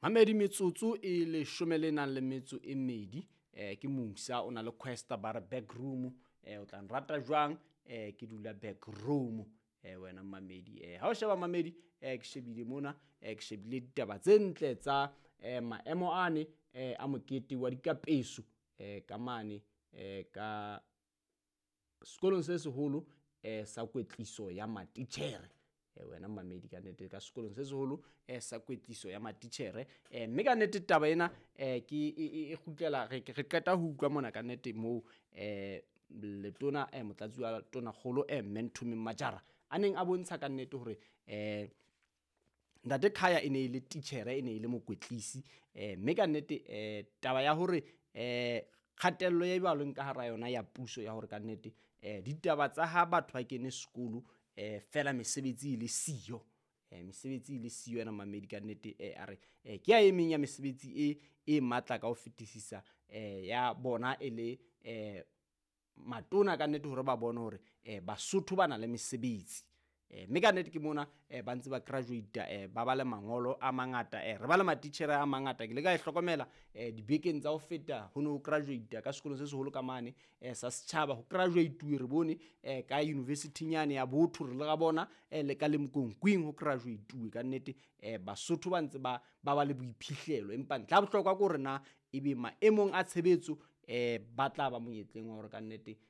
Mamedi, metsotso e leshome le nang le metso e mmedi. Ke Musa o na le Questa, ba re back room. O tla nrata jwang, ke dula back room. Wena mamedi, ha o sheba mamedi, ke shebile mona, ke shebile ditaba tse ntle tsa maemo ane a mokete wa dikapeso ka mane ka sekolong se seholo sa kwetliso ya matitjhere. Wena mamedi, ka nnete ka sekolong se seholo sa kwetliso ya matitjhere. Mme ka nnete taba ena ke e kgutlela, re qeta ho utlwa mona ka nnete moo letona, motlatsi wa tonakgolo, mme Nthomeng Majara, a neng a bontsha ka nnete hore ntate Khaya e ne e le titjhere, e ne e le mokwetlisi. Mme ka nnete taba ya hore kgatello e ba leng ka hara yona ya puso ya hore ka nnete ditaba tsa ha batho ba kene sekolo fela mesebetsi e le siyo, mesebetsi e le siyo ena mamedi, ka nnete a re ke ya e meng ya mesebetsi e matla ka ho fetisisa ya bona e le matona ka nnete, hore ba bone hore Basotho ba na le mesebetsi. Mme ka nnete ke mona ba ntse ba graduate, ba ba le mangolo a mangata, re ba le matitjhere a mangata. Ke le ka e hlokomela dibekeng tsa ho feta, ho no graduate ka sekolong se seholo ka mane sa setjhaba, ho graduate re bone ka university nyane ya Botho, re le ra bona le ka Limkokwing ho graduate. Ka nnete Basotho ba ntse ba ba le boiphihlelo, empa ntlha ya bohlokwa ke hore na ebe maemong a tshebetso ba tla ba monyetleng wa hore ka nnete